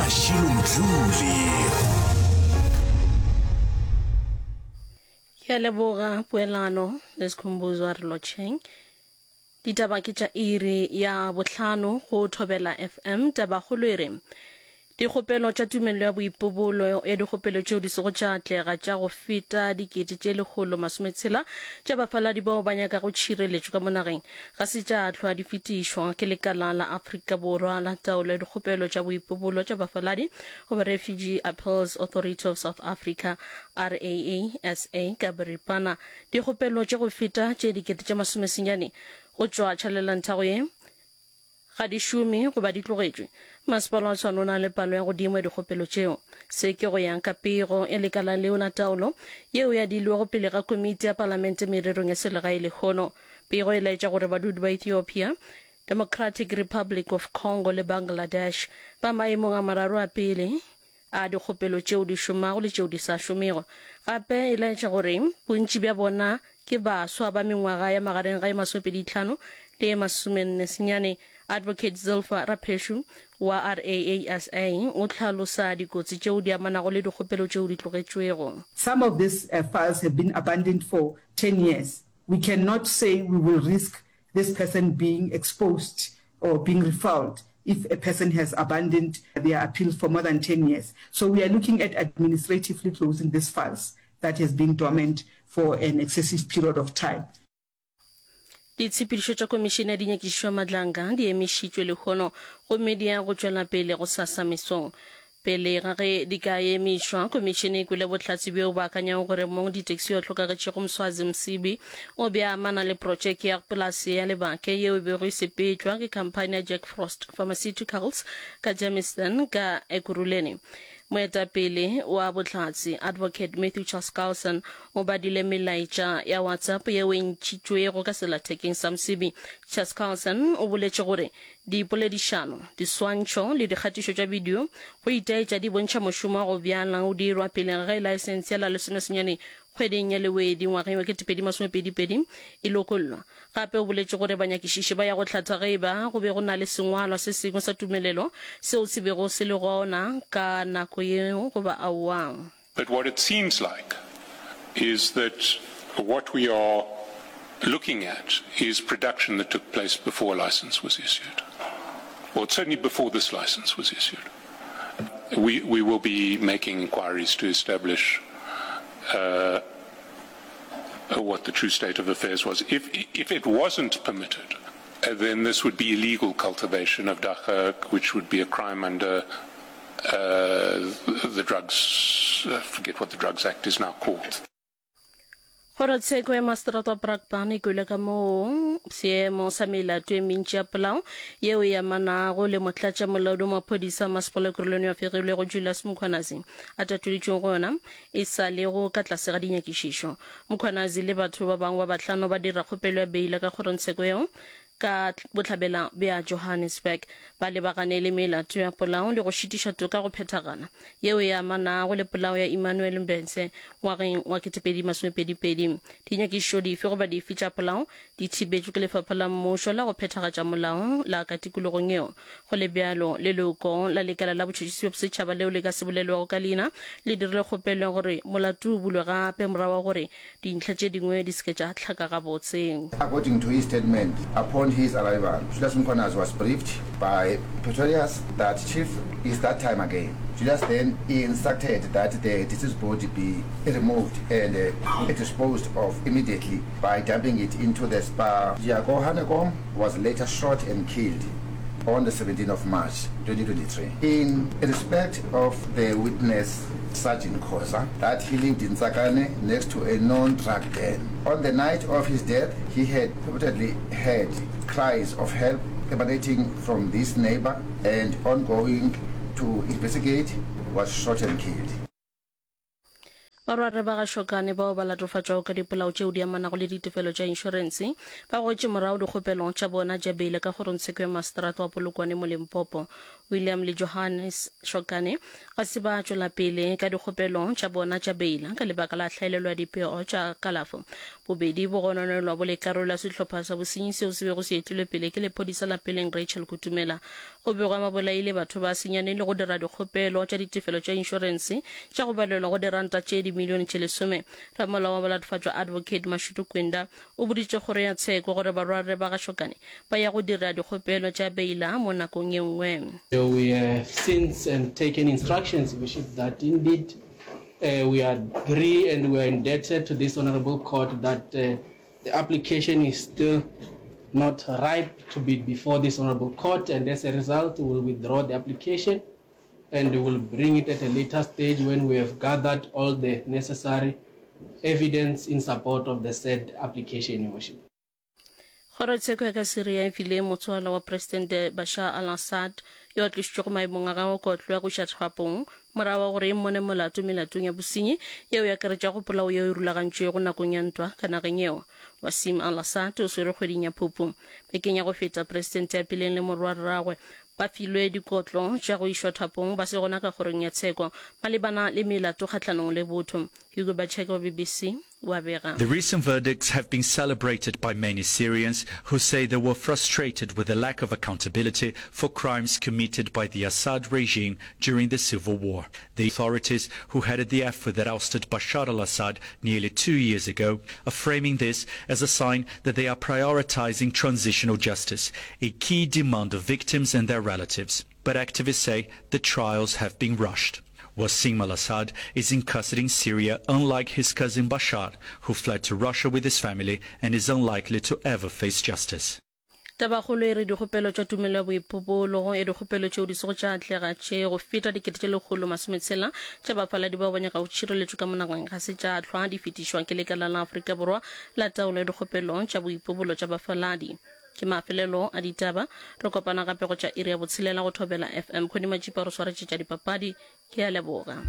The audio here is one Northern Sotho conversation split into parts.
Mashilo Mdluli. Ke a leboga poelano le Skhumbuzo a re lotšheng. Ditaba ke tša iri ya bohlano go Thobela FM. Tabakgolo e re dikgopelo tša tumelelo ya boipobolo ya dikgopelo tšeo di sego tša atlega tša go feta dikete tše 160 tša bafaladi bao ba nyakago tšhireletšo ka mo nageng ga se tša hlwa di fetišwa ke lekala la Afrika Borwa la taolo ya dikgopelo tša boipobolo tša bafaladi goba Refugee Appeals Authority of South Africa, RAASA, ka boripana. Dikgopelo tše go feta tše 9,000 go tšwa tšhalelantago ye ga di šome goba di tlogetšwe. Masepala wa Tshwane o na le palo ya godimo ya dikgopelo tšeo. Se ke go ya ka pego ya lekala leo la taolo yeo e adilwego pele ga komiti ya palamente mererong ya selegae lehono. Pego e laetša gore badudi ba Ethiopia, Democratic Republic of Congo le Bangladesh ba maemong a mararo a pele a dikgopelo tšeo di šomago le tšeo di sa šomego. Gape e laetša gore bontši bja bona ke baswa ba mengwaga ya magareng ga e masomepeditlhano le e masomennesenyane. Advocate Zilpha Rapheshu wa RAASA o hlalosa dikotsi tšeo di amanago le dikgopelo tšeo di tlogetšwego. Some of these files have been abandoned for 10 years. We cannot say we will risk this person being exposed or being refouled if a person has abandoned their appeal for more than 10 years. So we are looking at administratively closing these files that has been dormant for an excessive period of time. Ditshepedišo tša Komišene ya Dinyakišišo ya Madlanga di emišitšwe lehono gomme di ya go tšwela pele gosasa mesong. Pele ga ge di ka emišwa, Komišene e kwele bohlatse bjo bo akanyago gore mong ditaxi yo a hlokagetšego Mswazi Msibi o be a amana le protšeke ya polase ya Lebake yeo e bego e sepetšwa ke khamphani ya Jack Frost Pharmaceuticals ka Germiston ka Ekurhuleni. Moetapele wa bohlatse, Advocate Matthew Chaskalson, o badile melaetša ya WhatsApp yeo e ntšhitšwego ka sellathekeng sa Msibi. Chaskalson o boletše gore Dipoledišano, diswantšho le dikgatišo tša bidio go itaetša di bontšha mošomo wa go bjala o dirwa pele ga ge laesense ya la lesomesenyane kgweding ya Lewedi ngwageng wa 2022 e lokollwa. Gape o boletše gore banyakišiši ba ya go hlatha ge e ba go be go na le sengwalwa se sengwe sa tumelelo seo se bego se le gona ka nako yeo goba aowa. But what it seems like is that what we are looking at is production that took place before a license was issued, or certainly before this license was issued. We, we will be making inquiries to establish uh, what the true state of affairs was. If, if it wasn't permitted, uh, then this would be illegal cultivation of dagga, which would be a crime under uh, the drugs, I forget what the Drugs Act is now called. Kgorotsheko ya Maseterata wa Brakpan e kwele ka moo seemo sa melato e mentši ya polao yeo e amanago le motlatšamolaodi wa maphodisa a masepala Ekurhuleni yo a fegilwego Julius Mkhwanazi a tatolitšwego go yona e sa lego ka tlase ga dinyakišišo. Mkhwanazi le batho ba bangwe ba bahlano ba dira kgopelo ya beila ka kgorongtsheko yeo ka bohlabela bja Johannesburg. Ba lebagane le melato ya polao le go šitiša toka go phethagala yeo e amanago le polao ya Emmanuel Mbense ngwageng wa 2022. Dinyakišišo dife goba dife tša polao di thibetšwe ke lefapha la mmušo la go phethagatša molao la ka tikologong yeo. Go le bjalo, leloko la lekala la botšhotšhisi bja bosetšhaba leo le ka se bolelwago ka leina le dirile kgopelo ya gore molato o bulwe gape morago ga gore dintlha tše dingwe di se ke tša hlaka gabotse. According to his statement, upon his arrival, Julius Mkhwanazi was briefed by Pretorius that Chief, it's that time again. Julius then instructed that the deceased body be removed and disposed of immediately by dumping it into the Spar. Jaco Hanekom was later shot and killed on the 17 of March 2023. In respect of the witness Sergeant Khoza that he lived in Tsakane next to a known drug den. On the night of his death, he had purportedly heard cries of help emanating from this neighbor and on going to investigate was shot and killed. Barwarre ba ga Shokane bao ba latofatšwago ka dipolao tšeo di amanago le ditefelo tša inšorense ba goetše morago dikgopelo tša bona tša beile ka kgorongtsheko ya maseterata wa Polokwane mo Limpopo. William le Johannes Shokane ga se ba tšwela pele ka dikgopelo tša bona tša beila ka lebaka la hlaelelo ya dipego tša kalafo. Bobedi bo gononelwa bo le karolo ya sehlopha sa bosenyi seo se bego se etilwe pele ke lephodisa la peleng Rachel Kutumela. Go begwa ba bolaile batho ba senyane le go dira dikgopelo tša ditefelo tša inšorense tša go balelwa go diranta tše dimilione tše lesome. Ramolao wa balatofatšwa Advocate Mashudu Kwinda o boditše kgoro ya tsheko gore barwarre ba ga Shokane ba ya go dira dikgopelo tša beila mo nakong ye nngwe. We have since and taken instructions, Worship, that indeed we agree and we are indebted to this honourable court that the application is still not ripe to be before this honourable court and as a result we will withdraw the application and we will bring it at a later stage when we have gathered all the necessary evidence in support of the said application, Your Worship. Kgorotsheko ya ka Syria e file motswala wa Presidente Bashar al-Assad yo a tlošitšwego maemong a gagwe kotlo ya go iša thapong morago ga gore e mmone molato melatong ya bosenyi yeo e akaretšago polao yeo e rulagantšwego nakong ya ntwa ka nageng yeo. Wasim al-Assad o swerwe kgweding ya Phupu. Bekeng ya go feta, Presidente ya peleng le morwarragwe ba filwe dikotlo tša go išwa thapong ba se gona ka kgorong ya tsheko malebana le melato kgahlanong le botho. Hugo Bacheke wa BBC o a bega. The recent verdicts have been celebrated by many Syrians who say they were frustrated with the lack of accountability for crimes committed by the Assad regime during the civil war. The authorities who headed the effort that ousted Bashar al-Assad nearly two years ago are framing this as a sign that they are prioritizing transitional justice, a key demand of victims and their relatives. But activists say the trials have been rushed. Wassim al-Assad is in custody in Syria unlike his cousin Bashar, who fled to Russia with his family and is unlikely to ever face justice. Tabakgolo e re dikgopelo tša tumelo ya boipobolo ya dikgopelo tšeo di sego tša atlega tše go feta 1,600 tša bafaladi bao ba nyakago tšhireletšo ka mo nageng ga se tša hlwa di fetišwa ke lekala la Afrika Borwa la taolo ya dikgopelo tša boipobolo tša bafaladi. Ke mafelelo a ditaba. Re kopana gape go tša iri ya botshelela go Thobela FM. Khoni Matšipa o re swaretše tša dipapadi. Ke a leboga.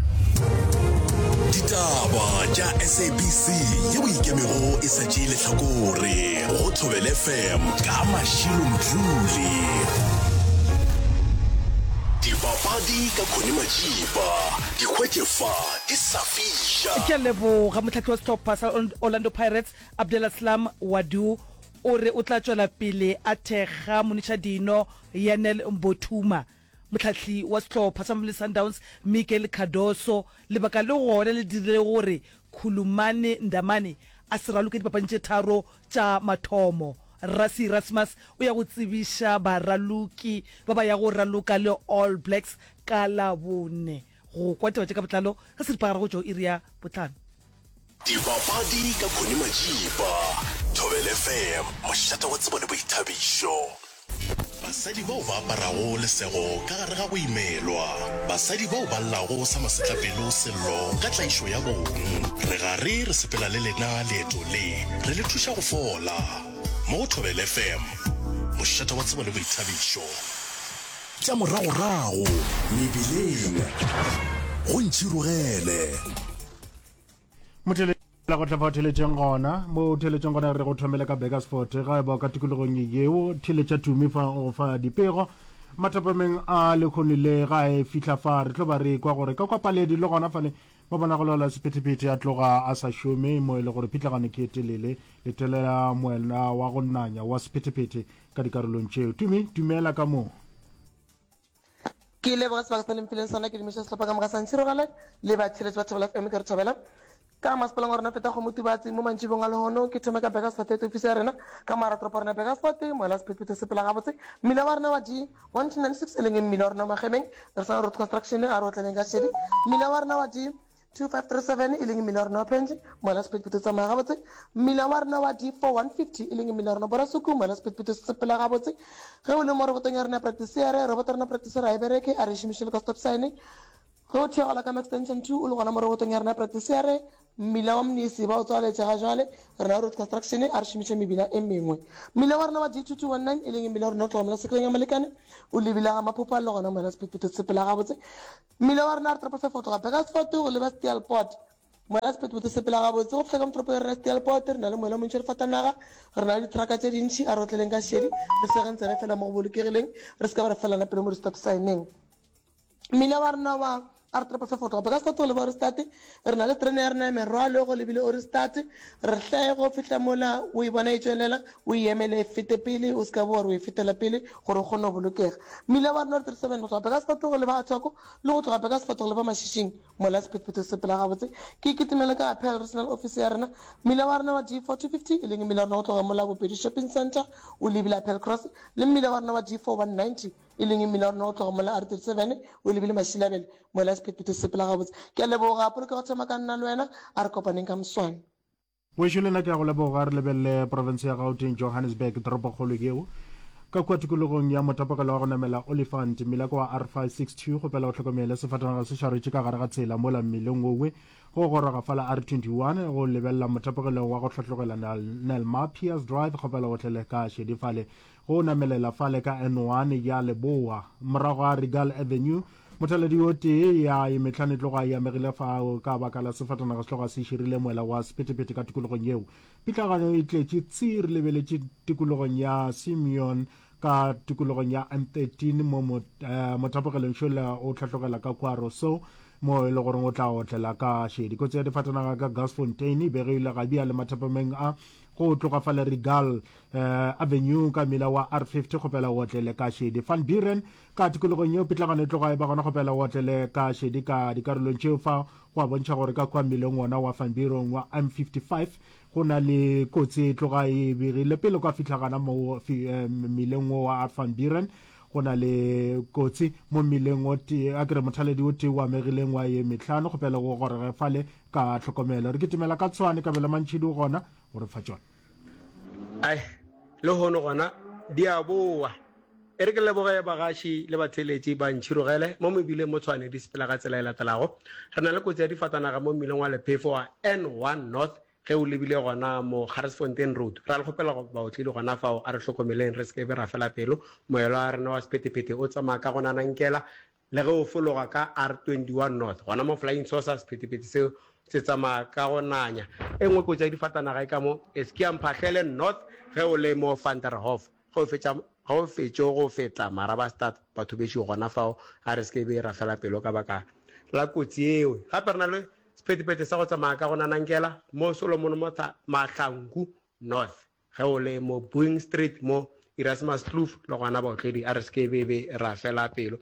Ditaba tša SABC yeo ikemego e sa tšee lehlakore go Thobela FM ka Mashilo Mdluli. Dipapadi ka Connie Majiba, di hwetše fa di sa fiša. Ke a leboga. Mohlahli wa sehlopha sa Orlando Pirates, Abdeslam Ouaddou, O re o tla tšwela pele a thekga monišadino Yanel Mbothuma, mohlahli wa sehlopha sa Mamelodi Sundowns Miguel Cardoso. Lebaka le gona le dirile gore Khulumani Ndamane a se raloke dipapading tše tharo tša mathomo. Rassie Erasmus o ya go tsebiša baraloki ba ba yago raloka le All Blacks ka Labone. Go kwa taba tše ka botlalo ka seripagare go tšwa go iri ya bohlano. Dipapadi ka Connie Majiba, Thobela FM, mošate wa tsebo le boithabišo. Basadi bao ba aparago lesego ka gare ga go imelwa, basadi bao ba llago sa masetlapelo sello ka tlaišo ya bong. Re gare re sepela le lena leeto le, re le thuša go fola. Mo go Thobela FM, mošate wa tsebo le boithabišo. Tša moragorago mebileng, go ntšhirogele. Motheletša go tla fa theletšeng gona mo theletšeng gona re go thomele ka Burgersfort ga e ba ka tikologong yeo theletša tumi fa go fa dipego mathapameng a lekgone le ga e fihla fa re tlo ba re kwa gore ka kwa paledi le gona fale ba bona go laola sephethephethe a tloga a sa šome mo e le gore pitlagano ke e telele letelela moela wa go nanya wa sephethephethe ka dikarolong tšeo tumi dumela ka moo Ke leboga sebaka sa le mphileng sona ke dumiša sehlopha ka moka sa Ntshirogale le batheeletši ba Thobela FM ke re thobela ka masepaleng wa rena feta kgomo Tubatse mo mantšibong a lehono ke thome ka Burgersfort head office ya rena ka moara toropo rena Burgersfort moela sephethephethe sepela gabotse mmila wa rena wa G 1296 e leng mmila wa rena wa Magemeng re sa road construction a re otleleng ka šedi mmila wa rena wa G 2537 e leng mmila wa rena wa Penge, mola sephethephethe se tsamaya gabotse. Mmila wa rena wa D4150 e leng mmila wa rena Borasuku, mola sephethephethe se sepela gabotse. Ge o le mo robotong ya rena ya Practice-ere, roboto ya rena Practice-ere ga e bereke, a re e šomiše le ka stop sign. Ge o theogela ka mo Extension 2 o le gona mo robotong ya rena ya Practice-ere, mmila wa Mnisi ba o tswaletše ga jwale, rena road construction a re šomiše mebila e mengwe. Mmila wa rena wa D2219 e leng mmila wa rena o tloga mola sekeleng ya Molekane o lebile ga Maphopha le gona mola sephethephethe se sepela gabotse. Mmila wa rena re toropo fefo go tloga Burgersfort go leba Steelpoort. Moela sephethephethe se sepela gabotse go fihla ka motoropo ya rena Steelpoort. Re na le moela o montši wa difatanaga, re na le dithraka tše dintši. A re otleleng ka šedi, re segeng tsebe fela mo go bolokegileng, re se ka ba ra felana pelo mo di-stop sign-eng. Mmila wa rena wa R triple five go tloga Burgersfort go leba Ohrigstad, re na le terene ya rena ya merwalo go lebile Ohrigstad. Re hle go fihla mola o e bona e tšwelela, o e emele e fete pele, o se ka ba wa re o e fetela pele gore o kgone go bolokega. Mmila wa rena wa 37 go tloga Burgersfort go leba Athoko le go tloga Burgersfort go leba Mashishing, Mola sephethephethe se sepela gabotse, ke kitimele ka Appeal Regional Office ya rena, mmila wa rena wa D4 250, e leng mmila wa rena go tloga mola Bopedi Shopping Centre o lebile Appeal Cross, le mmila wa rena wa D4 190, e leng mmila wa rena go tloga mola R37 o lebile Mashilabele. Mola sephethephethe se sepela gabotse. Ke a leboga, polokego thoma ka nna le wena, a re kopaneng ka moswane. Wešo le nna ke a go leboga. Re lebelele profense ya Gauteng, Johannesburg, toropokgolo yeo. Ka kua tikologong ya motapokelo wa go namela Olifant, mmila ke wa R562, kgopela o hlokomele sefatanaga se šaretše ka gare ga tsela mola mmileng wowe go goroga fala R21 go lebelela motapokelo wa go hlatlogela Nellmapius Drive, kgopela o tlele ka šedi fale go namelela fale ka N1 ya Leboa morago ga Regal Avenue. Mothaladi o tee ya ye mehlano e tloga e amegile fao ka baka la sefatanaga se tloga se širile moela wa sephethephethe ka tikologong yeo. Pitlagano e tletše tsi re lebeletše tikologong ya Simeon ka tikologong ya M13 mo mothapogelong šola o hlatlogela ka kua Rossouw mo e le goreng o tla otlela ka šedi. Kotsi ya difatanaga ka Garsfontein e begile ga bjale mathapameng a go tloga fale Regal Avenue ka mmila wa R50 kgopela o otlele ka šedi. Van Buren Ka tikologong yeo pitlagano e tloga e ba gona go pela o otlele ka šedi ka dikarolong tšeo fa go a bontšha gore ka kua mmileng wona wa Van Buren wa M55 go na le kotsi e tloga e begile pele kwa fihla gana mo mmileng wo wa Van Buren go na le kotsi mo mmileng o tee a kere mothaledi o tee o amegileng wa ye mehlano go pele go gorege fale ka tlhokomelo re kitimela ka tshwane kabelo mantšhidi o gona go re fa tšona. Ai, lehono gona di a boa. E re ke leboge bagaši le batheeletši ba Ntšhirogele mo mebileng mo Tshwane di sepela ka tsela e latelago. Re na le kotsi ya difatanaga mo mmileng wa Lephefo wa N1 North ge o lebile gona mo Garsfontein Road. Ra le kgopela go baotledi gona fao a re hlokomeleng re se ke be ra fela pelo. Moelo wa rena wa sephethephethe o tsamaya ka go nanankela Le ge o fologa ka R21 North, gona mo Flying Saucer, sephethephethe seo se tsamaya ka go nanya. E nngwe kotsi ya difatanaga e ka mo Eskia Mphahlele North ge o le mo Van der Hoff. Ge o fetša, ge o fetšo go feta Marabastad, batho bešo gona fao a re se ke be ra fela pelo ka baka la kotsi yeo. Gape re na le sephethephethe sa go tsamaya ka go nanankela mo Solomon Mahlangu North. Ge o le mo Boeing Street mo Erasmus Kloof le gona baotledi a re se ke be be ra fela pelo.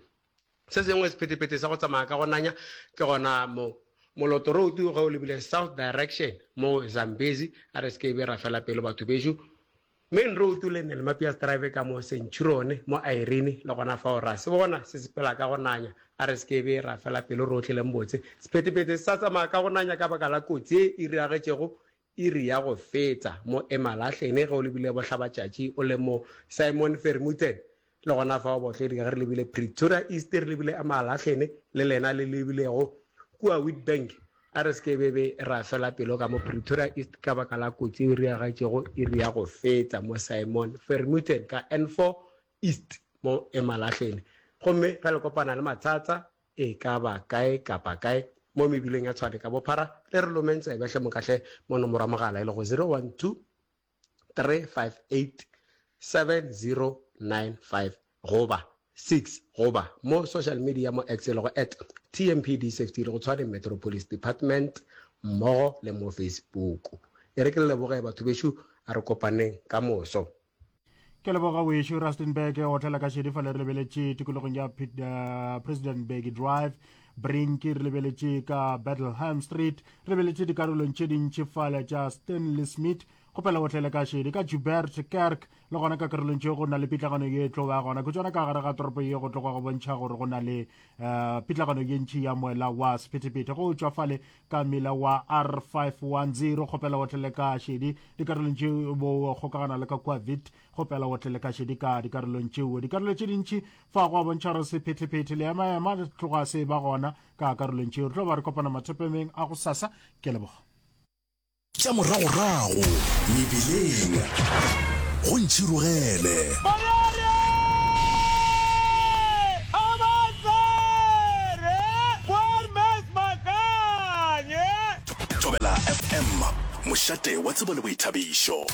Se sengwe sephethephethe sa go tsamaya ka go nanya ke gona mo Moloto Road ge o lebile south direction mo Zambezi a re se ke be ra fela pelo batho bešo. Main Road le Nellmapius Drive ka mo Centurion mo Irene le gona fao ra se bona se sepela ka go nanya a re se ke be ra fela pelo rohle le mbotse. Sephethephethe se sa tsamaya ka go nanya ka baka la kotsi ye e diragetšego Iri ya go fetsa mo Emalahleni ge o lebile bohlabatšatši o le mo Simon Vermuten. Le gona fao baotledi ge re lebile Pretoria East re lebile Emalahleni le lena le lebilego kua Witbank. A re se ke be be ra fela pelo ka mo Pretoria East ka baka la kotsi e riagetšego iri ya go fetsa mo Simon Vermuten ka N4 East mo Emalahleni. Gomme ge le kopana le matsatsa E ka ba kae kapa kae mo mebileng ya Tshwane ka bophara, le re lomeng tsebe hle mokahle mo nomoro ya mogala e lego 012 358 7095 goba 6 goba mo social media mo X e lego at TMPD Safety e lego Tshwane Metro Police Department mmogo le mo Facebook. E re ke le leboge batho bešo, a re kopaneng ka moso. Ke leboga wešo Rustenburg otlela ka šedi fale re lebeletše tikologong ya President Mbeki Drive Brink re lebeletše ka Bethlehem Street re lebeletše dikarolong tše dintši fale tša Stanley Smith kgopela otlele ka šedi ka Joubert Kerk le gona ka karolong tšeo go na le pitlagano ye tlo ba gona ke tsona ka gare ga toropo ye go tloga go bontšha gore go na le uh, pitlagano ye ntši ya moela wa sephethephethe go tšwa fale ka mmila wa R510 kgopela otlele ka šedi dikarolong tše bo kgokagana le ka kua vit kgopela otlele ka šedi ka dikarolong tšeo dikarolo tše dintši fa go a bontšha gore sephethephethe le emaema tloga se ba gona ka karolong tšeo re tlo ba re kopana mathopemeng a go sasa ke leboga Tša moragorago mebileng go ntšhirogele. FM, mošate wa tsebo le boithabišo.